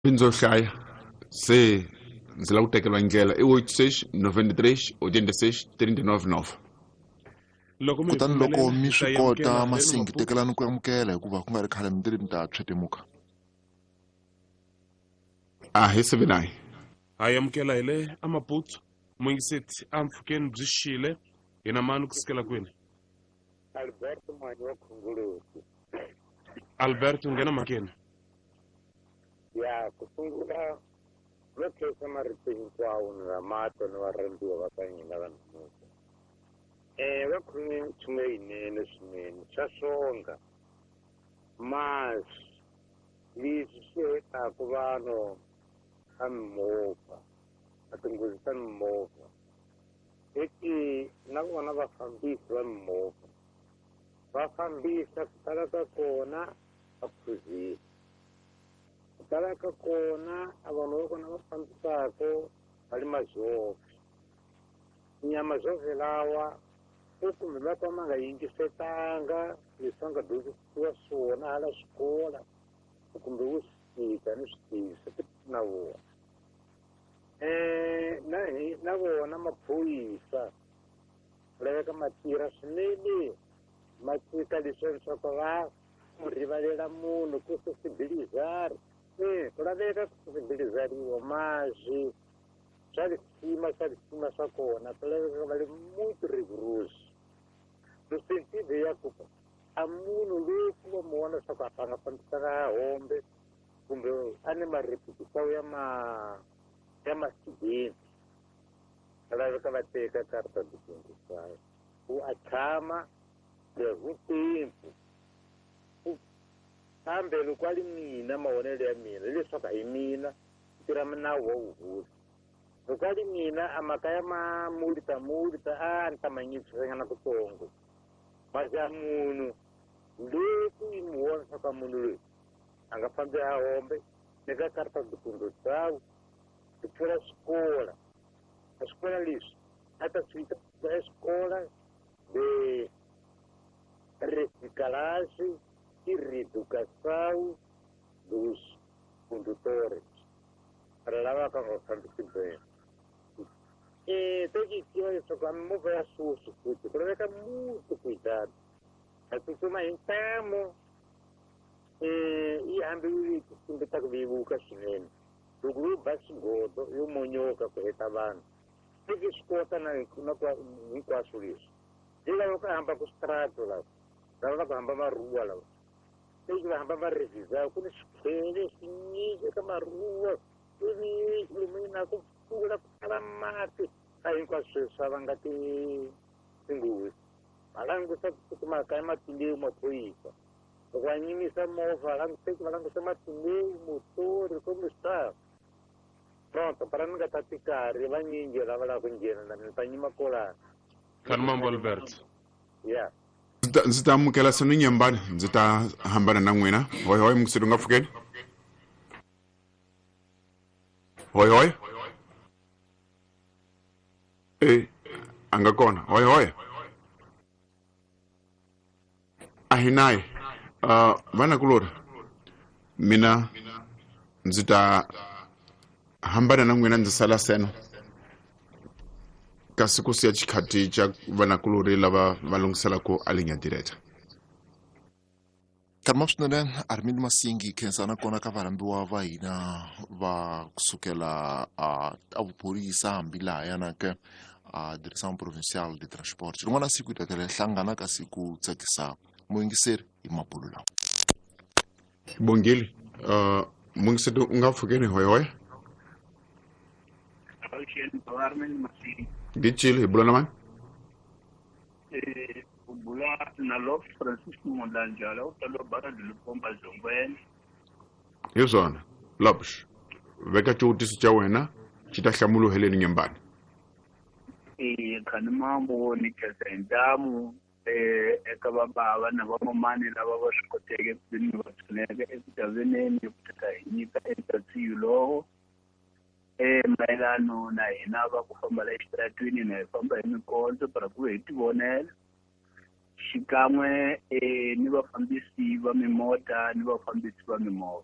Ndzo hlaya se ndzi lava ku tekeriwa ndlela i 86 93 86 39 Loko mi hi Kutani loko pfumelela, mi hi ta swi kota amukela haleno Masingi, Maputo. tekelani ku amukela hikuva ku nga ri khale mi tiri mi ta tshwetemuka. A hi 79. Ha amukela hi le aMaputo. Muyingiseti a mpfhukeni byi xile hi na mani kusukela kwini? Alberto Mwanyi wa Khongoloti. Alberto, nghena mhakeni. Ya ku sungula no khensa marito hinkwawo ni vamato ni varhandziwa va ka hina va namuntlha. Va khome nchumu leyinene swinene swa swonga masi leswi swi hetaka vanhu ka mimovha a tinghozi ta mimovha eti na vona vafambisi va mimovha va fambisa ku tala ka kona va phuzile ku tala ka kona a vanhu va kona va fambisaka va le mazove nyama zove lawa ku kumbe va ka ma nga yingisetanga leswi va nga dyondzisiwa swona hala xikola kumbe wo swi fika ni swi tivi swi na vona na hi na vona maphorisa ku laveka ma tirha swinene ma tshika leswiya leswaku va ku rivalela munhu ku sensibilizar ku laveka ku sensibilizariwa mazwi swa lisima swa lisima swa kona ku laveka va le muito rigoroso no sentido ya ku a munhu loyi ku va mu vona leswaku a nga fambisaka hombe kumbe a ni marepetisawu ya ma ya masidenti laveka va teka karta de condução ku a tshama por um tempo kambe loko a ri mina mavonelo ya mina hileswaku a hi mina tirha nawu wa vuhosi loko a ri mina a mhaka ya mamulta multa a ni ta ma nyikisanyana kutsongo masi ya munhu loyi ku yi mu vona leswaku a munhu loyi a nga fambi a hombe ni ka karta de condução ku pfula swikola a swikola leswi a ta swi vita escola de reciclagem e reeducação dos condutores para lava ka nga fambisi bene tem que tiva leswaku a mimovha ya sweswi futhi ku laveka muito cuidado a tsutsuma hi ntamu yi hambi yi tsumbeta ku vevuka swinene loko yo ba xigodo yo monyoka ku heta vanhu se ki swi kota na na hinkwaswo leswi hi lava ku hamba ku switrato lava lava va ku hamba maruwa lava se va hamba va revisa ku ni swikhele swinyingi eka maruwa ku ni lomu na ku pfula ku tala mati a hinkwaswo sweswi swa vanga tinghozi va langusa ku makaya matimbewu maphorisa loko va nyimisa movha languseki va langusa matimbewu motori kumbe swi pronto para ni nga tati karhi vanyingi lava lava ku nghena na mina ta nyima kolana. Khani mambo Albert. Ya Ndzi ta amukela senu nyembani ndzi ta hambana na n'wina hoy hoy mukiseti u nga pfukeni hoy hoy e a nga kona hoy hoy a hi naye vanakulori mina ndzi ta hambana na n'wina ndzi sala seno kasi ku siya xikhati xa vanakulori lava va lunghiselaka a linya direta. Karima swinene Armin Masingi khensana kona ka varhambiwa va hina va kusukela a vuphorisa hambi laha yana ke a Direction Provinciale de Transport. Rin'wana siku hi ta tlhela hi hlangana kasi ku tsakisa muyingiseri hi mabulo lawa. Bongile muyingiseri u nga pfukeni hoy hoy. Ngicile hi bula na mani? Bula na Lop Francisco Mulanjala u talo bara Lupomba Zongweni. Hi swona Lopsh veka xivutiso xa wena xi ta hlamuriwa heleni nyembani. Khani mambo ni khensa hi ntamu eka vabava na vamamani lava va swi koteke ku veni va pfuneka eku taveneni ku teka hi nyika eka lowo mayelano na hina va ku famba la exitaratweni na hi famba hi mikondzo para ku hi tivonela xikan'we ni vafambisi va mimota ni vafambisi va mimovha.